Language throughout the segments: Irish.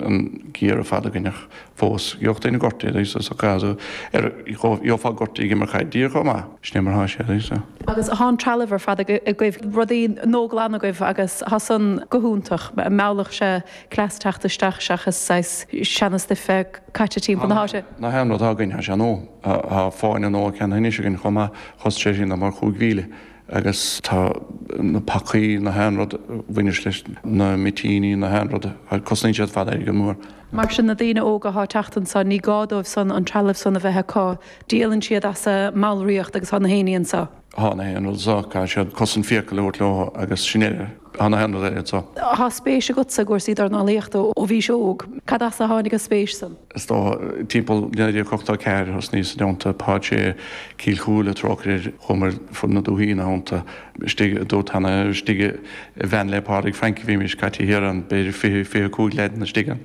an gear ar fad againn ach fós, gheobhadh duine gortaithe so caithfidh tú ar, gheofá gortaithe ag imirt caid díreach chomh maith. Sin é mar atá sé so. Agus thá an trealamh ar fad agaibh, rudaí nua-ghlan agaibh agus thá san go hiontach. Meallfadh sé cleas teacht isteach seachas saghas seana-stuif bheith caite timpeall na háite. Na haon rud atá againn, thá sé nua. Thá fáinne nua ceannaithe anois againn chomh maith, chosain sé sin mar 5,000. Agus tá na pacaí, na haon rud a bhaineas leis na mitíní, na haon rud, cosnaíonn siad ar fad airgead mór. Mar sin na daoine óga athá ag teacht anso, ní gá dóibh san an trealamh san a bheith acu, díolann siad as a mballraíocht agus thá na haon ní anso. Thá na haon rud anso, caithfidh siad cosaint fiacail a thabhairt leo agus sin eile, thá na haon rud eile anso. Thá spéis agatsa i gcúrsaí dornálaíochta ó bhís óg. Cad as a tháinig an spéis san? Is dócha, timpeall 1984 thosnaíos i dteannta Páid Sé, Cill Chúile, trócaire air, chuamar fud na dúthaí ina theannta, istigh i dúirt cheana, istigh i veain le Pádraig Frank a bhímis caite thiar ann, b'fhéidir 20, 25 leaideanna istigh ann.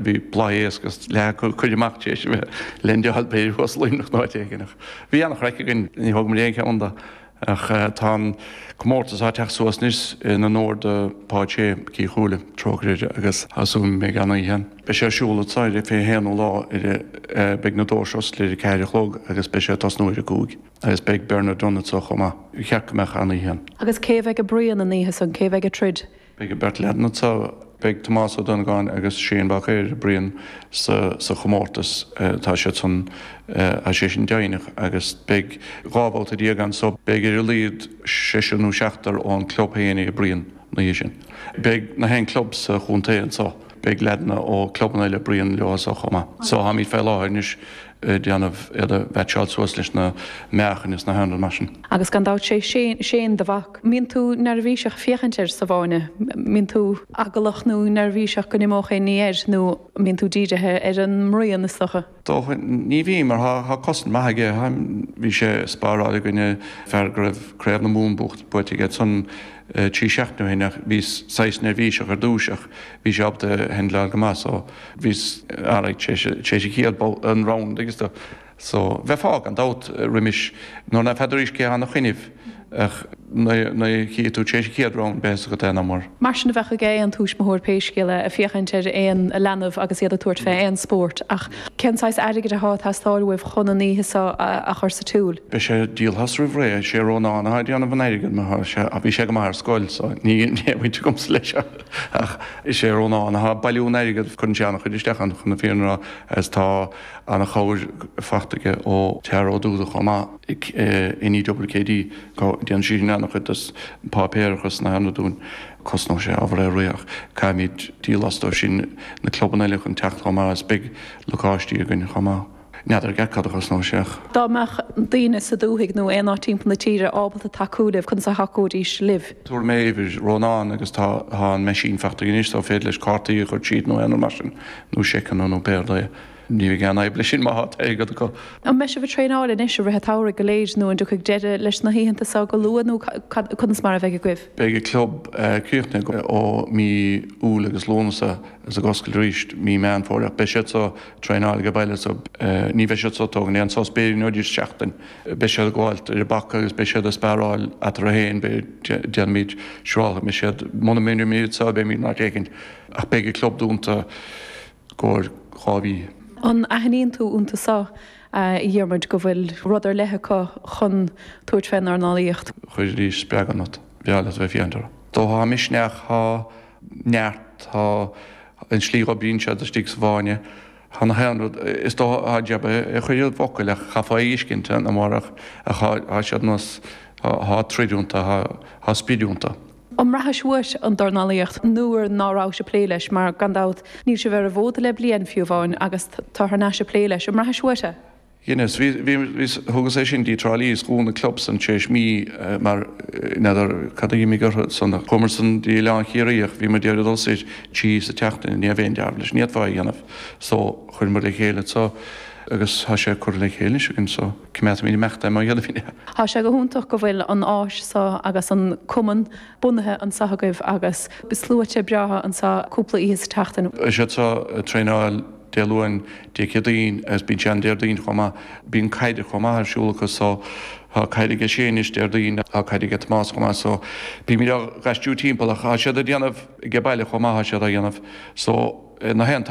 Bhí bladh éasc agus leath acu curtha amach tar éis a bheith leaindeáil b'fhéidir thuas i Luimneach nó áit éigin ach bhí an-chraic againn, ní thóg muid aon cheann de. Ach tá an comórtas á teacht suas anois in onóir do Pháid Sé, Cill Chúile, trócaire air, agus tá súil agam go mbeidh an-oíche ann. Beidh sé ar siúl anso ar an 21ú lá ar beidh na doirse oscailte ar a 4 a chlog agus beidh sé ag tosnú ar a 5 agus beidh Bernard Dunne anso chomh maith. Ba cheart go mbeadh an-oíche ann. Agus cé a bheidh ag bruíon an oíche san? Cé a bheidh ag troid? Beidh an bheirt leaideanna anso. Beidh Tomás Ó Donnagáin agus Shane Bacéir ag bruíon sa chomórtas. Tá siad san, tá sé sin deimhneach agus beidh 12 bhabhta ann so beidh ar a laghad seisear nó seachtar ón club féin ag bruíon an oíche sin. Beidh na haon club sa chontae anso. Beidh leaideanna ó clubanna eile ag bruíon leo anso chomh maith. So táimid fé láthair anois ag déanamh iad a mheaitseáil suas leis na meáchain is na haon rud mar sin. Agus gan dabht sé Shane do mhac. Mbíonn tú neirbhíseach ag féachaint air sa bhfáinne? Mbíonn tú eaglach nó neirbhíseach go n-imeodh aon ní air nó mbíonn tú dírithe ar an mbruíon is dócha? Dócha, ní bhím mar tá cosaint maith aige. Bhí sé ag sparáil i gcoinne fear go raibh Craobh na Mumhan buaite aige ansan 3 seachtaine ó shin ach bhíos saghas neirbhíseach ar dtús ach bhí sé ábalta handleáil go maith so bhíos alright tar éis an chéad an round agus do So, bheifeá, gan dabht, roimis, nuair ná feadar arís cé atá ina choinnibh, ach nuair a chífidh tú tar éis an chéad round, beidh a fhios agat é, nach mór. Mar sin a bheadh ag aon tuismitheoir pé scéal é, ag féachaint ar aon leanbh agus iad ag tabhairt fé aon spórt, ach cén saghas airgid athá ag teastáil uaibh chun an oíche seo a chur sa tsiúl? Beidh sé díoltha as roimh ré, is é Rónán atá ag déanamh an airgid, mar tá sé, bhí sé go maith ar scoil, so níl aon bhaint agamsa leis ach is é Rónán atá ag bailiú an airgid, cuireann sé an-chuid isteach ann, chun na fírinne a rá, agus tá. Ana-chabhair fachta aige ó Tara Ó Dúda chomh maith in EWKD. Déanann sí sin ana-chuid des an páipéarachas na haon rud dúinn. Cosnóidh sé ábhar é réidh ach caithfimid díol as dóibh sin na clubanna eile chun teacht chomh maith agus beidh lacáistí againn chomh maith. N'fheadar i gceart cad a chosnóidh sé ach. Dá mbeadh daoine sa dúthaigh nó aon áit timpeall na tíre ábalta tacú libh, conas a thacóidís libh? Tabharfaidh mé uimhir Rónán agus tá an meaisín fachta aige anois so féidir leis cártaí a chur tríd nó aon rud mar sin nó seiceanna nó pé rud é. Ní bheidh aon fhadhb leis sin má tá airgead acu. An mbeidh sibh ag traenáil anois i rith an tsamhraidh go léir nó an dtiocfaidh deireadh leis na hoícheanta seo go luath nó conas mar a bheidh agaibh? Beidh an club críochnaithe ó mí Iúil agus Lúnasa agus ag oscailt arís mí Meán Fómhair ach beidh siad so ag traenáil age baile so ní bheidh siad so ag tógaint aon sos b'fhéidir nó just seachtain. Beidh siad ag gabháilt ar an bpaca agus beidh siad ag sparáil eatarthu féin beidh déanfaimid siúrálfaidh mé siad muna mbeimid so beimid in áit éicint ach beidh an club dúnta gcomhair 2 mhí. An aithníonn tú iontu seo, a Dhiarmuid, go bhfuil rud ar leith acu chun tabhairt fén ndornálaíocht? Chuirfidís spreagadh ionat. B'fhearr leat a bheith ag féachaint orthu. Tá misneach, tá neart, tá an tslí a dh'oibríonn siad istigh sa bhfáinne, tá na haon rud, is dócha, tá jab a chur i bhfocail ach chaithfeá a fheiscint amárach ach tá siad nós, tá troid iontu, tá sprid iontu. An mbraithis uait an dornálaíocht nuair ná rabhais ag plé leis, mar gan dabht níl sibh ar an bhfód le bliain fiú amháin agus tá thar n-ais ag plé leis, an mbraithis uait é? Dheineas. Bhí, bhí, bhí, thugas é sin dtí Trá Lí is dhún an club san tar éis mí mar n'fheadar cad a d'imigh orthu san. Chuamar san dtí Oileán Chiarraí ach bhí muid ag iarraidh dul soir trí sa tseachtain, ní raibh aon dealramh leis, ní fhéadfá é a dhéanamh. So chuireamar le chéile anso agus tá sé curtha le chéile anois againn so coimeádfaimid imeacht é má dhéanfaimid é. Tá sé go hiontach go bhfuil an áis seo agus an cumann bunaithe anseo agaibh agus sluaite breátha anseo cúpla oíche sa tseachtain. Tá siad seo ag traenáil Dé Luain, Dé Céadaoin agus bíonn sé an Déardaoin chomh maith. Bíonn caid chomh maith ar siúl acu so tá caid aige Shane anois Déardaoin, tá caid aige Tomás chomh maith so bímid á gaistriú timpeall ach tá siad ag déanamh age baile chomh maith tá siad á dhéanamh so na haon.